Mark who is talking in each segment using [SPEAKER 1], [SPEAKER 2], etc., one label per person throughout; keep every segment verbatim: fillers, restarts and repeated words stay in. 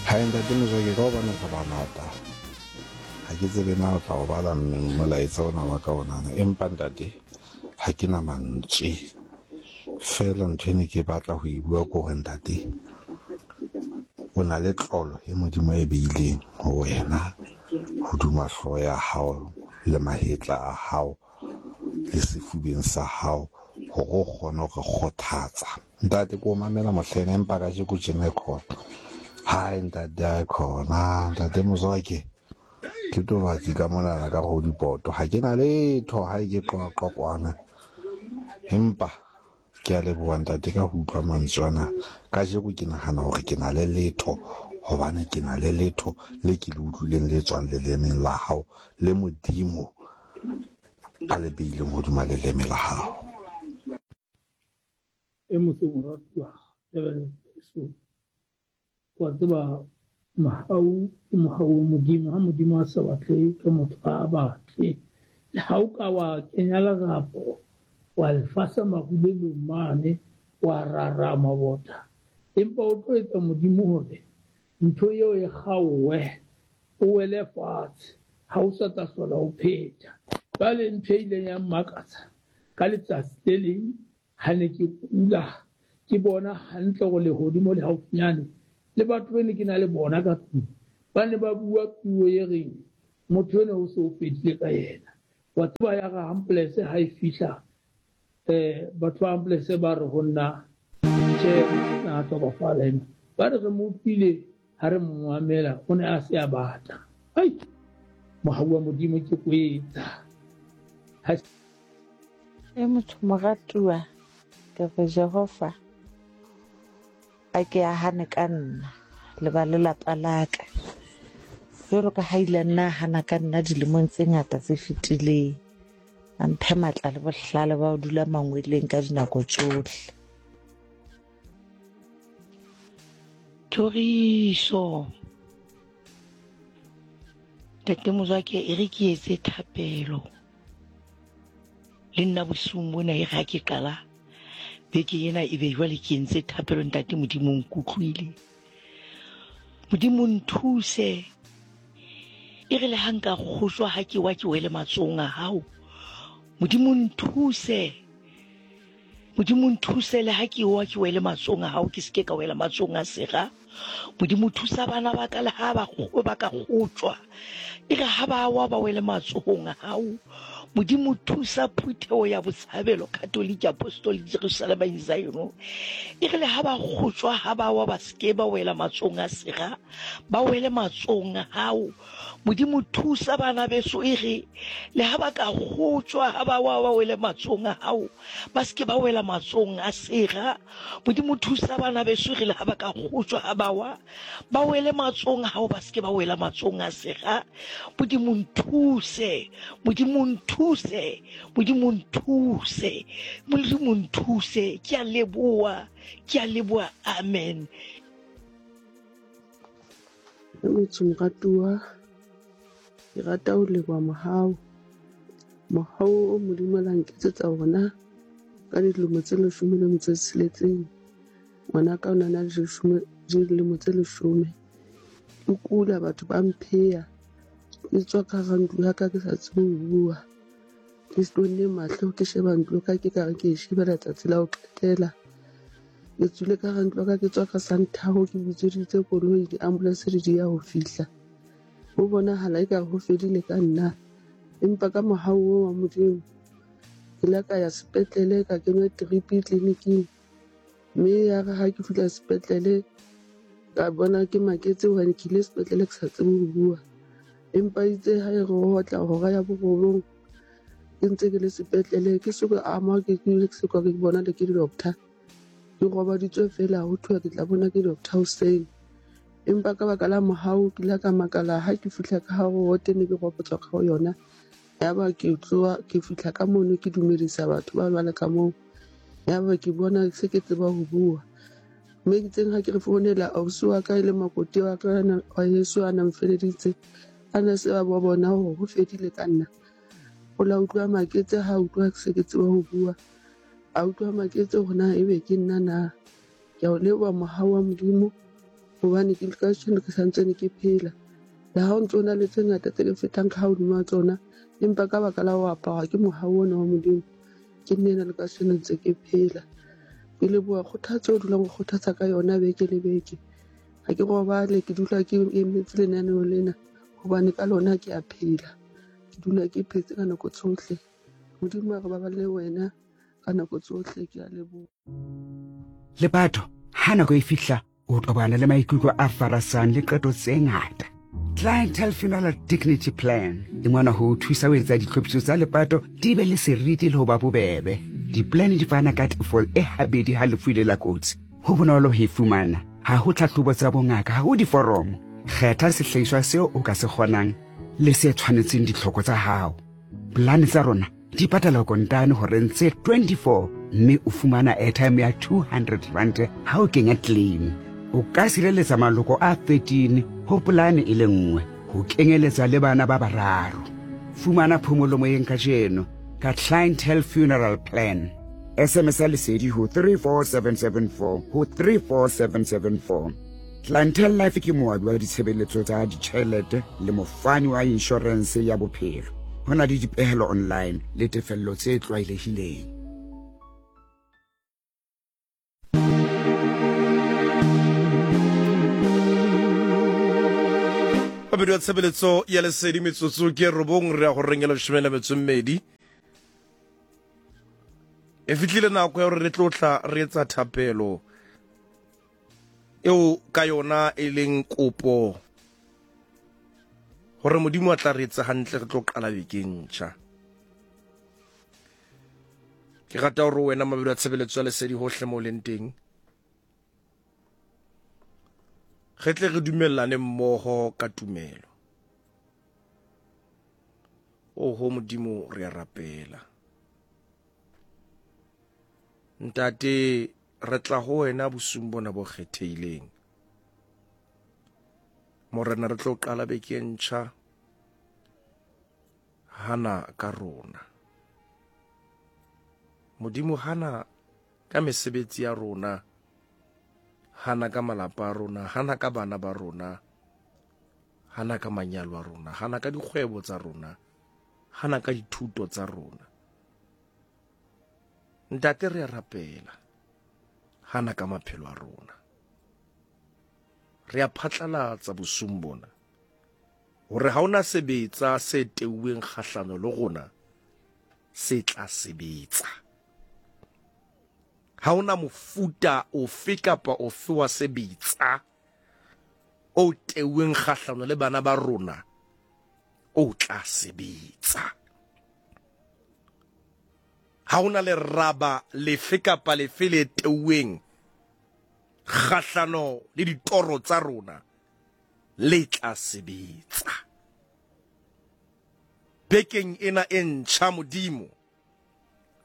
[SPEAKER 1] Hai ntate Mozwake, ka hobane re bangata ha ke tsebe na o tla o bala molaetsa ona wa ka onana, empa ntate ha ke na mantswe. Feela ntho e ne ke batla ho e bua ke hore ntate o na le tlolo e Modimo a e beileng ho wena hodima hlooho ya hao le mahetla a hao le sefubeng sa hao hore o kgone ho re kgothatsa. Ntate ke o mamela mohlena, empa kajeko tjena e khona. Hai ntate a khona, ntate Mozwake ke tobatsi ka monana ka go dipoto. Ha ke na letho, ha ke qoqa kwana. Empa ke a leboha ntate ka ho utlwa mantswe ana. Kajeko ke nahana hore ke na le letho, hobane ke na le letho le ke le utlwileng le tswang lelemeng la hao le Modimo a le beileng hodima leleme la hao.
[SPEAKER 2] E motse moratuwa so wa tseba mohau ke mohau wa Modimo. Ha Modimo a sa batle ke motho a batle, le ha o ka wa kenya lerapo wa lefasa marulelong mane wa rara mabota, empa o tlo etsa Modimo hore ntho eo e kgaowe, o wele fatshe, ha o sa tla hlola o phetha. Jwale ntho e ileng ya mmakatsa ka letsatsi le leng ha ne ke kula, ke bona hantle hore lehodimo le haufinyane, le batho ba ne ke na le bona ka tlung ba ne ba bua puo e reng motho ena o se o fedile ka yena. Wa tseba ya re ambulance ha e fihla, eh batho ba ambulance ba re ho nna tjhe, na hlokofala ena. Ba re re mo utlwile ha re mo mamela, o ne a se a batla. Ai, mohau wa Modimo ke kwetsa.
[SPEAKER 3] E motho moratuwa, ke re Jehova a ke a hane ka nna le ba lelapa la ka, jwalo ka ha ile nna hana ka nna dilemong tse ngata tse fetileng. A mphe matla le bohlale ba ho dula mangweleng ka dinako tsohle.
[SPEAKER 4] Thoriso Ntate Mozwake, e re ke etse thapelo le nna bosiung bona. E re ha ke qala beke ena e be jwale ke entse thapelo. Ntate Modimo nkutlwile, Modimo nthuse. E re le ha nka kgojwa ha ke wa ke wele matsohong a hao. Modimo nthuse, Modimo nthuse le ha ke wa ke wele matsohong a hao, ke seke ka wela matsohong a sera. Modimo thusa bana ba ka le ha ba ba ka kgotjwa, e re ha ba wa ba wele matsohong a hao. Modimo thusa phutheo ya Botshabelo Catholic Apostolic Jerusalem in Zion, e re le ha ba kgotjwa ha ba wa ba seke ba wela matsohong a sera, ba wele matsohong a hao. Modimo thusa bana beso, e re le ha ba ka kgotjwa ha ba wa ba wele matsohong a hao, ba seke ba wela matsohong a sera. Modimo thusa bana beso, e re le ha ba ka kgotjwa ha ba wa ba wele matsohong a hao, ba seke ba wela matsohong a sera. Modimo nthuse, Modimo nthuse, Modimo nthuse, Modimo nthuse. Ke a leboha, ke a leboha, amen.
[SPEAKER 5] Motho moratuwa, ke rata ho leboha mohau, mohau o Modimo la nketsetsa ona ka dilemo tse leshome le metso e tsheletseng. Ngwanaka o na na le dilemo tse leshome. Ke kula, batho ba mpheya, ke tswa ka hara ntlo ya ka ke sa tsebe ho bua. Ke stonne mahlo, ke sheba ntlo ka ke kare ke e shebela tsatsi la ho qetela. Ke tswile ka hara ntlo ka ke tswa ka santhao, ke bitseditse koloi, di-ambulance di ya ho fihla. Ho bonahala ekare ho fedile ka nna, empa ka mohau oo wa Modimo ke la ka ya sepetlele, ka kenywa drip tleliniking. Mme ya re ha ke fihla sepetlele ka bona ke maketse hobane ke ile sepetlele ke sa tsebe ho bua. Empa itse ha e re ho otla hora ya borobong ke ntse ke le sepetlele, ke so ka ama, ke ke se ka ke bona le ke di-doctor. Ke robaditswe feela, ho thwe ke tla bona ke doctor hoseng. Empa ka baka la mohau ke ile ka makala ha ke fihla ka hare ho ward, ne ke ropotswa ka ho yona. Yaba ke tloha ke fihla ka mono, ke dumedisa batho ba bale ka moo. Yaba ke bona se ke tseba ho bua. Mme ke tseng ha ke re founela ausi wa ka e le makoti wa ka wa heso a na mfeleditse, a na se ba bona hore ho fedile ka nna. O la utlwa maketse ha utlwa se ke tseba ho bua. A utlwa maketse hore na ebe ke nna na. Ke a o leboha mohau wa Modimo Hobane ke kajeno ke santsane ke phela. Le ha o ntso na le tse ngata tse ke fetang ka hodima tsona, empa ka baka la ho aparwa ke mohau ona wa Modimo, ke nna ena le kajeno ntse ke phela. Ke leboha kgothatso o dulang o kgothatsa ka yona beke le beke. Ha ke robale, ke dula ke emetse lenaneo lena hobane ka lona ke a phela. Ke dula ke phetse ka nako tsohle. Modimo a re baballe wena ka nako tsohle. Ke a leboha.
[SPEAKER 6] Lepato, ha nako e fihla, o tobana le maikutlo a farasang le qeto tse ngata. Clientele Funeral Dignity Plan e ngwana ho o thusa ho etsa ditlhophiso tsa lepato di be le seriti le ho ba bobebe. Di-plan di fana ka tefo e habedi ha lefu ile la kotsi. Ho bonolo ho e fumana. Ha ho tlhahlobo tsa bongaka, ha ho diforomo. Kgetha sehlahiswa seo o ka se kgonang le se tshwanetseng ditlhoko tsa hao. Plan tsa rona di patala kontane horeng tse twenty-four mme o fumana airtime ya two hundred rand ha o kenya claim. O ka sireletsa maloko a thirteen ho polane e le nngwe, ho kenyeletsa le bana ba bararo. Fumana phomolo moyeng kajeno ka Clientele Funeral Plan. S M S lesedi ho three four seven seven four ho three four seven seven four. Clientele Life ke moabi wa ditshebeletso tsa ditjhelete le mofani wa inshorense ya bophelo. Ho na le dipehelo online le tefello tse tlwaelehileng.
[SPEAKER 7] Babedi wa tshebeletso ya lesedi metsotso ke robong re ya go rengela leshome le metso e mmedi. E fihlile nako ya hore re tlo tla re etsa thapelo eo ka yona e leng kopo hore Modimo a tla re etsa hantle re tlo qala beke e ntjha. Ke rata hore wena mabedi wa tshebeletso ya lesedi hohle mo leng teng, re tle re dumellane mmoho ka tumelo. Oho Modimo, re a rapela. Ntate, re tla ho wena bosiung bona bo kgethehileng. Morena, re tlo qala beke e ntjha. Hana ka rona. Modimo, hana ka mesebetsi ya rona, hana ka malapa a rona, hana ka bana ba rona, hana ka manyalo a rona, hana ka dikgwebo tsa rona, hana ka dithuto tsa rona. Ntate, re a rapela, hana ka maphelo a rona. Re a phatlalatsa bosiung bona hore ha ona sebetsa se teuweng kgahlano le rona se tla sebetsa. Ha ona mofuta ofe kapa ofe wa sebetsa o teuweng kgahlano le bana ba rona o tla sebetsa. Ha ona leraba lefe kapa lefe le teuweng kgahlano le ditoro tsa rona le tla sebetsa. Bekeng ena e ntjha, Modimo,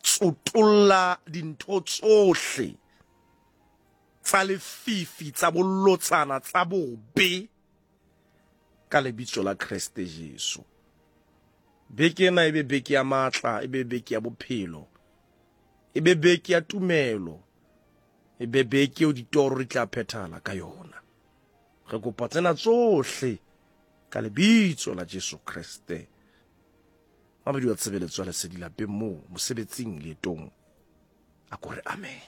[SPEAKER 7] tsotolla dintho tsohle tsa lefifi, tsa bolotsana, tsa bobe ka lebitso la Kreste Jesu. Beke ena e be beke ya matla, e be beke ya bophelo, e be beke ya tumelo, e be beke eo ditoro di tla phethahala ka yona. Re kopa tsena tsohle ka lebitso la Jesu Kreste. Mabedi wa tshebeletso ya lesedi lapeng moo, mosebetsing, leetong, a ko re amen.